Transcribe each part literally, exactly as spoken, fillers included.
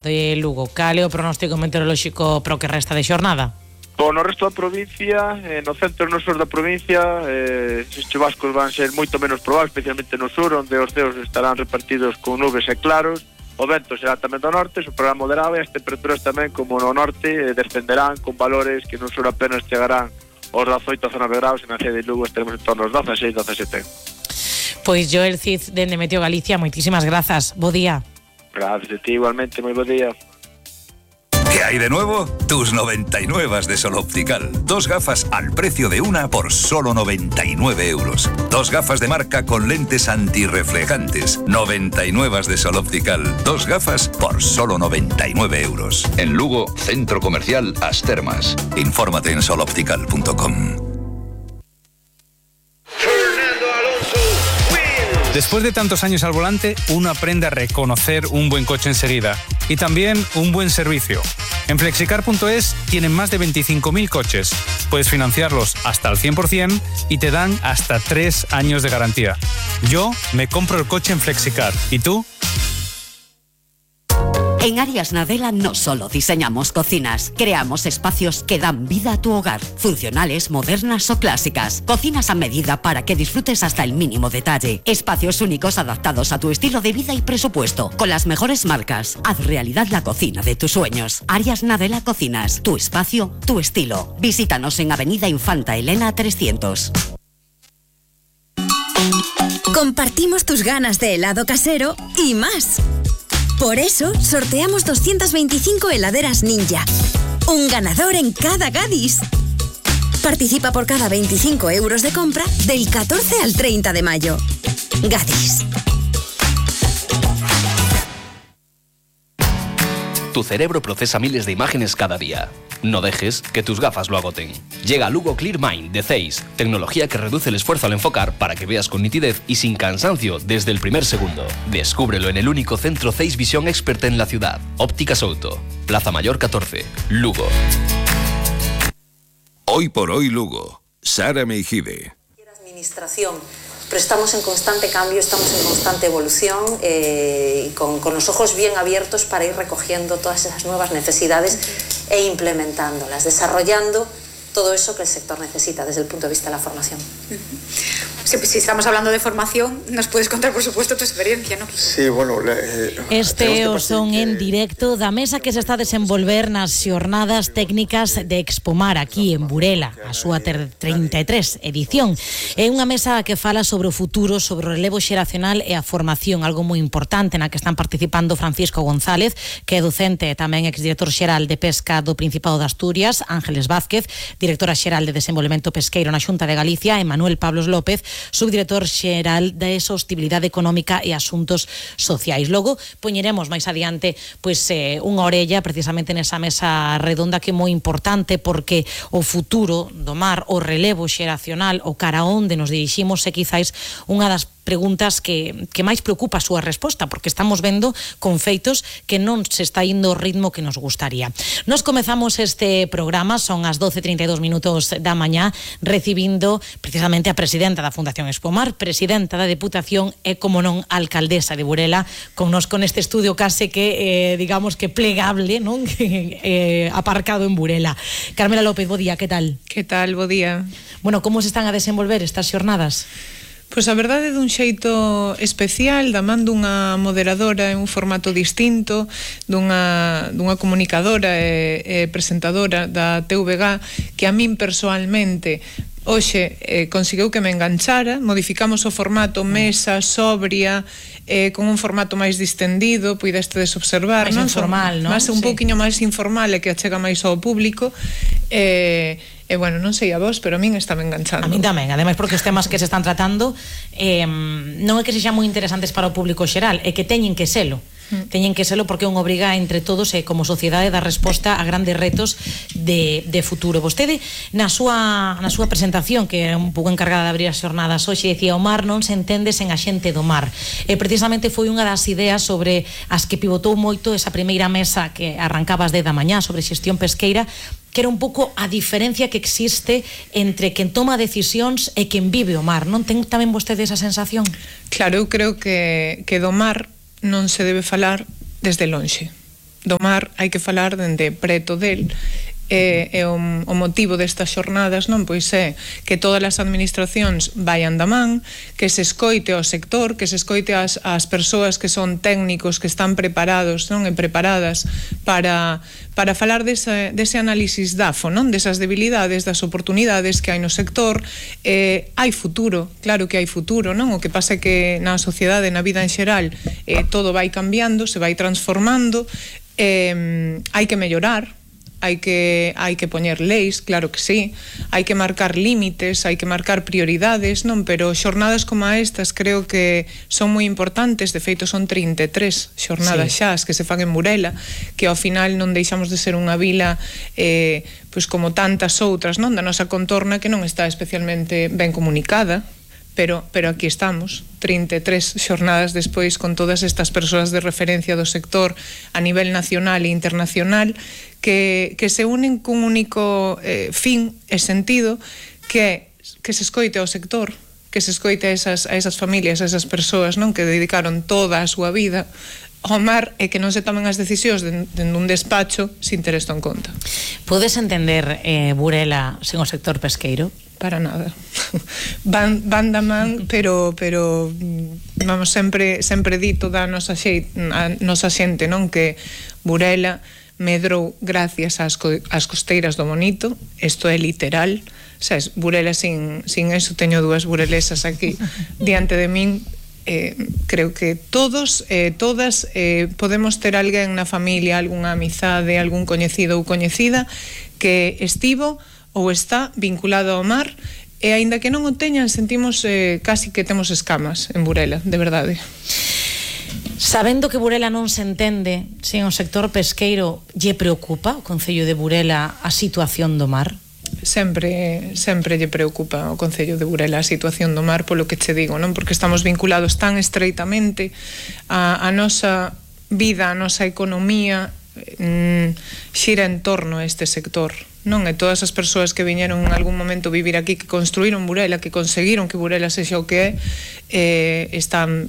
de Lugo. Cal é o pronóstico meteorolóxico para o que resta de xornada? Bom, no resto da provincia, eh, no centro e no sur da provincia, eh, os chubascos van ser moito menos probables, especialmente no sur, onde os ceos estarán repartidos con nubes e claros. O vento será tamén do norte, soprará moderado, e as temperaturas tamén, como no norte, eh, descenderán con valores que no sur apenas chegarán aos dezaoito a dezanove graus, e na cidade de Lugo estaremos en torno aos dezaseis, dezasete. Pois Joel Cid, dende Meteo Galicia, moitísimas grazas. Bo día. Gracias a ti, igualmente, moi bo día. ¿Qué hay de nuevo? Tus noventa y nueve de Sol Optical. Dos gafas al precio de una por solo noventa y nueve euros. Dos gafas de marca con lentes antirreflejantes. noventa y nueve de Sol Optical. Dos gafas por solo noventa y nueve euros. En Lugo, Centro Comercial As Termas. Infórmate en sol optical punto com. Después de tantos años al volante, uno aprende a reconocer un buen coche enseguida y también un buen servicio. En flexicar punto es tienen más de veinticinco mil coches. Puedes financiarlos hasta al cien por ciento y te dan hasta tres años de garantía. Yo me compro el coche en Flexicar. ¿Y tú? En Arias Nadela no solo diseñamos cocinas, creamos espacios que dan vida a tu hogar, funcionales, modernas o clásicas, cocinas a medida para que disfrutes hasta el mínimo detalle, espacios únicos adaptados a tu estilo de vida y presupuesto, con las mejores marcas. Haz realidad la cocina de tus sueños. Arias Nadela Cocinas, tu espacio, tu estilo. Visítanos en Avenida Infanta Elena trescientos. Compartimos tus ganas de helado casero y más. Por eso, sorteamos doscientas veinticinco heladeras Ninja. Un ganador en cada Gadis. Participa por cada veinticinco euros de compra del catorce al treinta de mayo. Gadis. Tu cerebro procesa miles de imágenes cada día. No dejes que tus gafas lo agoten. Llega Lugo Clear Mind de Zeiss, tecnología que reduce el esfuerzo al enfocar para que veas con nitidez y sin cansancio desde el primer segundo. Descúbrelo en el único centro Zeiss Visión Expert en la ciudad. Ópticas Auto, Plaza Mayor catorce, Lugo. Hoy por hoy Lugo. Sara Meijide. Administración. Pero estamos en constante cambio, estamos en constante evolución eh, y con, con los ojos bien abiertos para ir recogiendo todas esas nuevas necesidades e implementándolas, desarrollando todo eso que el sector necesita desde el punto de vista de la formación. Si, si estamos hablando de formación, nos puedes contar, por supuesto, tu experiencia, ¿no? Sí, bueno... Eh, este o son que... en directo da mesa que se está a desenvolver nas xornadas técnicas de Expomar aquí en Burela, a súa trinta e tres edición. É unha mesa que fala sobre o futuro, sobre o relevo xeracional e a formación, algo moi importante na que están participando Francisco González, que é docente e tamén exdirector xeral de Pesca do Principado de Asturias, Ángeles Vázquez, directora xeral de Desenvolvemento Pesqueiro na Xunta de Galicia, e Manuel Pablos López, subdirector xeral de Sostibilidade Económica e Asuntos Sociais. Logo, poñeremos máis adiante pois, eh, unha orella precisamente nesa mesa redonda que é moi importante porque o futuro do mar, o relevo xeracional, o cara onde nos diriximos é quizáis unha das preguntas que, que máis preocupa a súa resposta, porque estamos vendo con feitos que non se está indo o ritmo que nos gustaría. Nos comezamos este programa, son as doce e trinta e dous minutos da mañá, recibindo precisamente a presidenta da Fundación Expomar, presidenta da Deputación e, como non, alcaldesa de Burela, con nos con este estudio case que, eh, digamos que plegable, non? eh, aparcado en Burela. Carmela López, bo día, que tal? Que tal, bo día. Bueno, como se están a desenvolver estas xornadas? Pois a verdade é dun xeito especial, da man dunha moderadora en un formato distinto, dunha, dunha comunicadora e, e presentadora da T V G, que a min persoalmente hoxe eh, conseguiu que me enganchara. Modificamos o formato mesa, sobria, eh, con un formato máis distendido, puidestedes observar, máis non? informal, non? Máis un sí. pouquiño máis informal e que achega máis ao público. E eh, E, bueno, non sei a vos, pero a min está me enganchando. A min tamén, ademais porque os temas que se están tratando eh, non é que sexan moi interesantes para o público xeral, é que teñen que selo. Mm. Teñen que selo porque é unha obriga entre todos e como sociedade dar resposta a grandes retos de, de futuro. Vostede, na súa, na súa presentación, que é un pouco encargada de abrir as xornadas hoxe, decía: o mar non se entende sen a xente do mar. E precisamente foi unha das ideas sobre as que pivotou moito esa primeira mesa que arrancaba as dez da mañá sobre xestión pesqueira, que era un pouco a diferencia que existe entre quen toma decisións e quen vive o mar, non ten tamén vostede esa sensación? Claro, eu creo que, que do mar non se debe falar desde lonxe. do mar hai que falar dende preto del. E, e o, o motivo destas xornadas non pois é que todas as administracións vayan da man, que se escoite ao sector, que se escoite as, as persoas que son técnicos, que están preparados, non, e preparadas para, para falar dese, dese análisis D A F O, non, desas debilidades, das oportunidades que hai no sector. Eh, hai futuro, claro que hai futuro, non? O que pasa é que na sociedade, na vida en xeral, eh, todo vai cambiando, se vai transformando, eh, hai que mellorar, hai que hai que poñer leis, claro que sí, hai que marcar límites, hai que marcar prioridades, non, pero xornadas como estas creo que son moi importantes. De feito son trinta e tres xornadas sí. xa as que se fan en Burela, que ao final non deixamos de ser unha vila eh, pois como tantas outras, non, da nosa contorna, que non está especialmente ben comunicada. Pero, pero aquí estamos, trinta e tres xornadas despois, con todas estas persoas de referencia do sector a nivel nacional e internacional, que, que se unen cun único eh, fin e sentido, que é que se escoite ao sector, que se escoite a esas, a esas familias, a esas persoas, non, que dedicaron toda a súa vida ao mar, e que non se tomen as decisións dende un despacho sin ter isto en conta. Podes entender eh, Burela sen o sector pesqueiro? Para nada. Van, van da man, pero pero vamos, sempre sempre dito da nosa xente, a nosa xente, non, que Burela medrou gracias ás, co, ás costeiras do Bonito. Isto é literal. Sabes, Burela sin, sin eso, teño dúas burelesas aquí diante de min. Eh, creo que todos, eh, todas eh, podemos ter alguén na familia, algunha amizade, algún coñecido ou coñecida que estivo ou está vinculado ao mar, e aínda que non o teñan, sentimos eh, casi que temos escamas en Burela, de verdade. Sabendo que Burela non se entende sen o sector pesqueiro, lle preocupa o Concello de Burela a situación do mar? Sempre, sempre lle preocupa ao Concello de Burela a situación do mar, polo que che digo, non? Porque estamos vinculados tan estreitamente a, a nosa vida, a nosa economía, mm, xira en torno a este sector, non? E todas as persoas que viñeron en algún momento vivir aquí, que construíron Burela, que conseguiron que Burela sexa o que é, eh, están,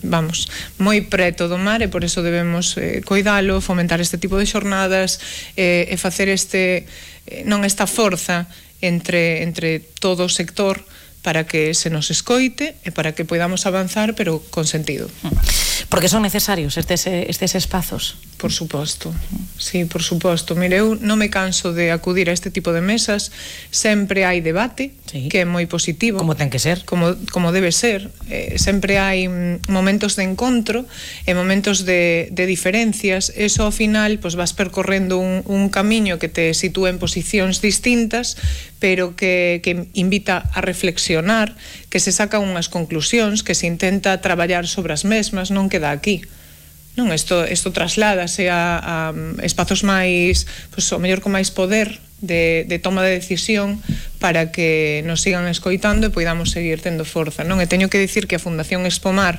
vamos, moi preto do mar, e por eso debemos eh, coidalo, fomentar este tipo de xornadas, eh, e facer este, eh, non esta forza entre, entre todo o sector, para que se nos escoite e para que podamos avanzar, pero con sentido. Porque son necesarios estes, estes espazos? Por suposto, sí, por suposto. Mire, eu non me canso de acudir a este tipo de mesas, sempre hai debate, sí, que é moi positivo. Como ten que ser. Como, como debe ser. Eh, sempre hai momentos de encontro e momentos de, de diferencias. Eso ao final, pues, vas percorrendo un, un camiño que te sitúa en posicións distintas, pero que, que invita a reflexionar, que se sacan unhas conclusións, que se intenta traballar sobre as mesmas, non queda aquí. Non, isto, isto trasládase a, a espazos máis, pois, o mellor con máis poder de, de toma de decisión, para que nos sigan escoitando e poidamos seguir tendo forza, non? E teño que dicir que a Fundación Expomar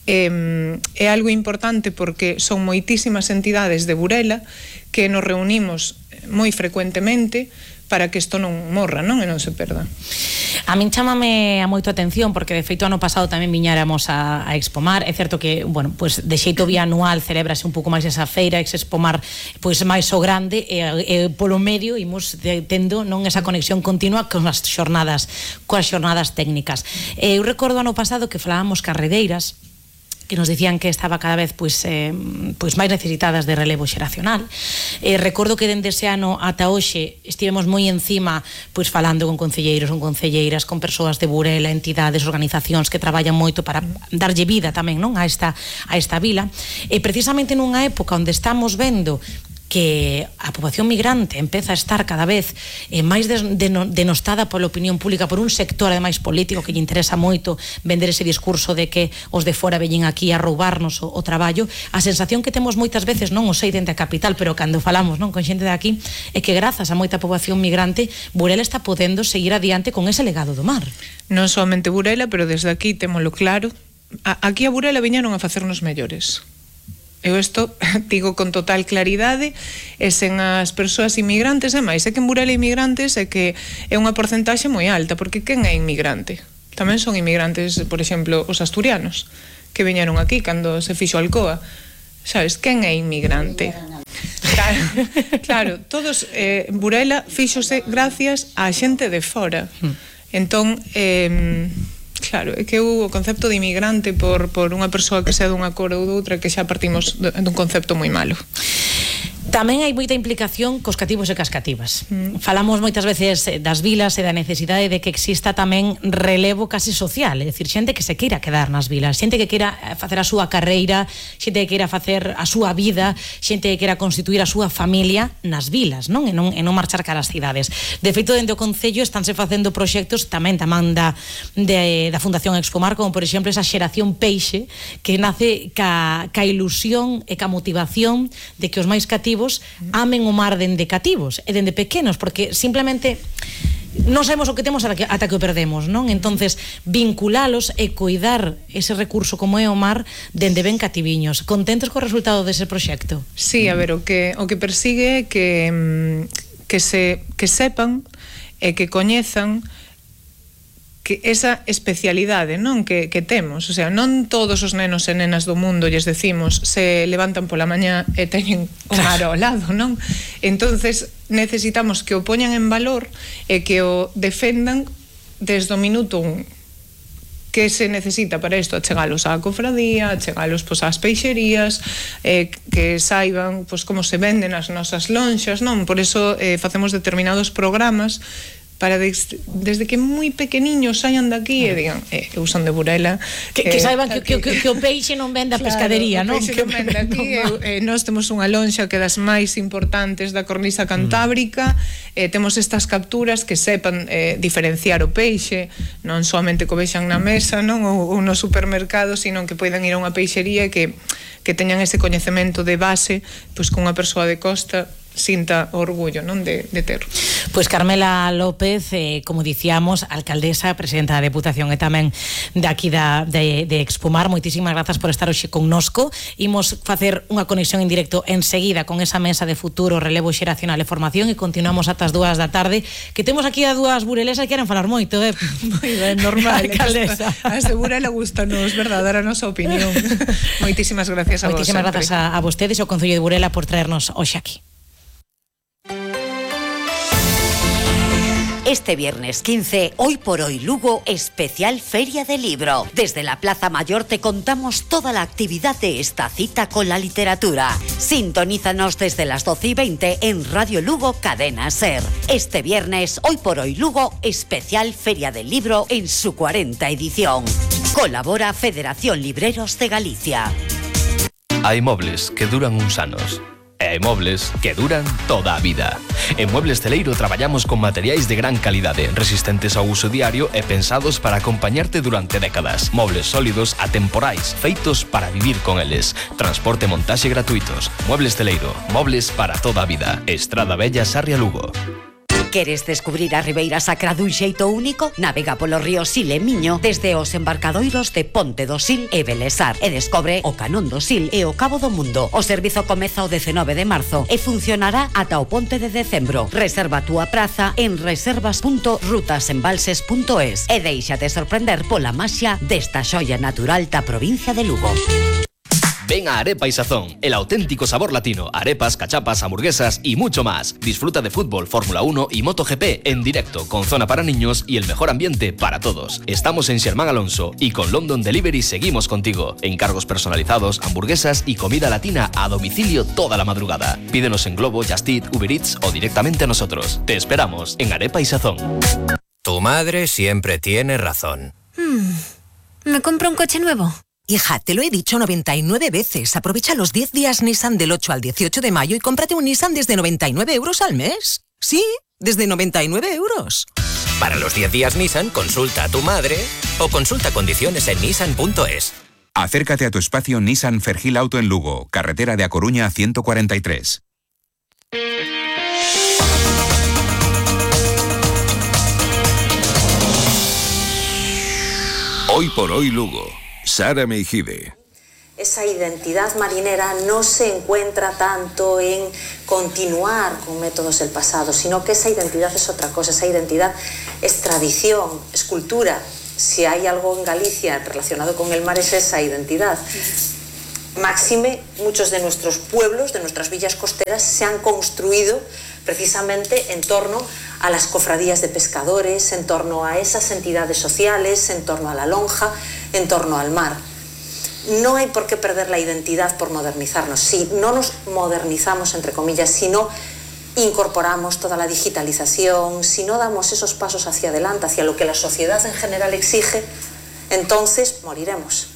eh, é algo importante, porque son moitísimas entidades de Burela que nos reunimos moi frecuentemente para que isto non morra, non? E non se perda. A min chámame a moito atención, porque de feito ano pasado tamén viñáramos a, a Expomar. É certo que, bueno, pues de xeito bianual celébrase un pouco máis esa feira, ex Expomar pois máis o grande, e, e polo medio imos de, tendo non esa conexión continua con as xornadas, coas xornadas técnicas. E eu recordo ano pasado que falábamos carredeiras, que nos dicían que estaba cada vez pois, eh, pois máis necesitadas de relevo xeracional. Eh, recordo que dende ese ano ata hoxe estivemos moi encima, pois falando con concelleiros, con concelleiras, con persoas de Burela, entidades, organizacións que traballan moito para darlle vida tamén, non, a esta a esta vila. E precisamente nunha época onde estamos vendo que a poboación migrante empeza a estar cada vez eh, máis denostada pola opinión pública, por un sector ademais político que lle interesa moito vender ese discurso de que os de fora veñen aquí a roubarnos o, o traballo. A sensación que temos moitas veces, non o sei dende a capital, pero cando falamos, non, con xente de aquí, é que grazas a moita poboación migrante, Burela está podendo seguir adiante con ese legado do mar. Non somente Burela, pero desde aquí témolo claro. A, aquí a Burela viñeron a facernos mellores. Eu isto digo con total claridade, e sen as persoas inmigrantes, e máis, é que en Burela inmigrantes é que é unha porcentaxe moi alta, porque quen é inmigrante? Tamén son inmigrantes, por exemplo, os asturianos, que viñeron aquí cando se fixo Alcoa. Sabes, quen é inmigrante? Claro, claro, todos, eh, Burela fíxose gracias á xente de fora. Entón, eh, claro, é que o concepto de inmigrante por, por unha persoa que sea dunha cor ou doutra, que xa partimos dun concepto moi malo. Tamén hai moita implicación cos cativos e cas cativas. Mm. Falamos moitas veces das vilas e da necesidade de que exista tamén relevo casi social, é dicir, xente que se queira quedar nas vilas, xente que queira facer a súa carreira, xente que queira facer a súa vida, xente que queira constituir a súa familia nas vilas, non? E non, e non marchar cara ás cidades. De feito, dentro do Concello estánse facendo proxectos tamén tamén da, de, da Fundación Expomar, como por exemplo esa xeración peixe que nace ca, ca ilusión e ca motivación de que os máis cativos amen o mar dende cativos e dende pequenos, porque simplemente non sabemos o que temos ata que, ata que o perdemos, non? Entonces, vinculalos e coidar ese recurso como é o mar dende ben cativiños. Contentos co resultado dese proxecto? Sí, a ver, o que, o que persigue é que, que, se, que sepan e que coñezan que esa especialidade, non, que, que temos, o sea, non todos os nenos e nenas do mundo, lles decimos, se levantan pola mañá e teñen o mar ao lado, non? Entonces necesitamos que o poñan en valor e que o defendan desde o minuto un. Que se necesita para isto? Achegalos á cofradía, achegalos pois, ás peixerías, eh, que saiban pois, como se venden as nosas lonxas, non? Por eso eh, facemos determinados programas para des, desde que moi pequeniños saian daqui e digan, eh, eu son de Burela, que, que eh, saiban que, que, que, que o peixe non vende a claro, pescadería, non? O peixe non vende aquí, no, e, eh, nós temos unha lonxa que é das máis importantes da cornisa cantábrica, mm. eh, temos estas capturas que sepan eh, diferenciar o peixe, non soamente co vexan na mesa, non, ou, ou no supermercado, sino que poidan ir a unha peixería que, que teñan ese coñecemento de base, pois con unha persoa de costa sinta orgullo, non, de, de ter. Pois Carmela López, eh, como dicíamos, alcaldesa, presidenta da Deputación e tamén de aquí da, de, de Expomar, moitísimas grazas por estar hoxe connosco. Imos facer unha conexión en directo enseguida con esa mesa de futuro, relevo xeracional e formación e continuamos ata as dúas da tarde, que temos aquí a dúas burelesas que queren falar moito, eh? Moi ben, normal. Alcaldesa. A ese Burela gustanos, verdad, dar a nosa opinión. Moitísimas gracias a vos. Moitísimas grazas a, a vostedes e ao Concello de Burela por traernos hoxe aquí. Este viernes quince, Hoy por Hoy Lugo, especial Feria del Libro. Desde la Plaza Mayor te contamos toda la actividad de esta cita con la literatura. Sintonízanos desde las doce y veinte en Radio Lugo Cadena Ser. Este viernes, Hoy por Hoy Lugo, especial Feria del Libro en su cuarenta edición. Colabora Federación Libreros de Galicia. Hay mobles que duran uns anos. E hai mobles que duran toda a vida. En Muebles Celeiro traballamos con materiais de gran calidade, resistentes ao uso diario e pensados para acompañarte durante décadas. Mobles sólidos, atemporais, feitos para vivir con eles. Transporte e montaxe gratuitos. Muebles Celeiro, mobles para toda a vida. Estrada Bella, Sarria, Lugo. Queres descubrir a Ribeira Sacra dun xeito único? Navega polo río Sil e Miño desde os embarcadoiros de Ponte do Sil e Belesar e descobre o Canón do Sil e o Cabo do Mundo. O servizo comeza o dezenove de marzo e funcionará ata o ponte de decembro. Reserva a túa praza en reservas punto rutasembalses punto es e deixate sorprender pola maxia desta xoia natural da provincia de Lugo. Ven a Arepa y Sazón, el auténtico sabor latino, arepas, cachapas, hamburguesas y mucho más. Disfruta de fútbol, Fórmula uno y MotoGP en directo, con zona para niños y el mejor ambiente para todos. Estamos en Xermán Alonso y con London Delivery seguimos contigo. Encargos personalizados, hamburguesas y comida latina a domicilio toda la madrugada. Pídenos en Globo, Just Eat, Uber Eats o directamente a nosotros. Te esperamos en Arepa y Sazón. Tu madre siempre tiene razón. Hmm. ¿Me compro un coche nuevo? Hija, te lo he dicho noventa y nueve veces. Aprovecha los diez días Nissan del ocho al dieciocho de mayo y cómprate un Nissan desde noventa y nueve euros al mes. Sí, desde noventa y nueve euros. Para los diez días Nissan, consulta a tu madre o consulta condiciones en nissan punto es. Acércate a tu espacio Nissan Fergil Auto en Lugo, carretera de A Coruña ciento cuarenta y tres. Hoy por Hoy Lugo. Sara Meijide. Esa identidad marinera no se encuentra tanto en continuar con métodos del pasado, sino que esa identidad es otra cosa. Esa identidad es tradición, es cultura. Si hay algo en Galicia relacionado con el mar es esa identidad. Máxime, muchos de nuestros pueblos, de nuestras villas costeras, se han construido precisamente en torno a las cofradías de pescadores, en torno a esas entidades sociales, en torno a la lonja, en torno al mar. No hay por qué perder la identidad por modernizarnos. Si no nos modernizamos, entre comillas, si no incorporamos toda la digitalización, si no damos esos pasos hacia adelante, hacia lo que la sociedad en general exige, entonces moriremos.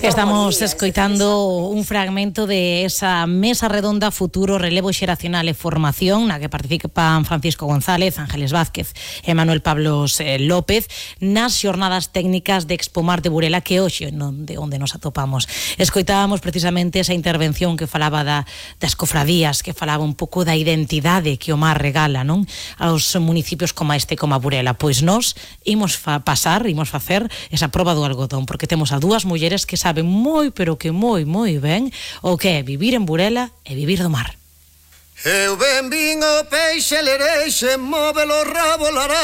Estamos escoitando un fragmento de esa mesa redonda Futuro, Relevo Xeracional e Formación na que participan Francisco González, Ángeles Vázquez e Manuel Pablos López nas xornadas técnicas de Expomar de Burela que hoxe non de onde nos atopamos. Escoitábamos precisamente esa intervención que falaba da, das cofradías, que falaba un pouco da identidade que o mar regala, non? Aos municipios como este, como a Burela. Pois nós imos fa pasar, imos facer esa proba do algodón, porque temos a dúas mulleres que saben moi, pero que moi, moi ben o que é vivir en Burela e vivir do mar. Eu ben vin o peixe lereixe, móvelo rabo lará.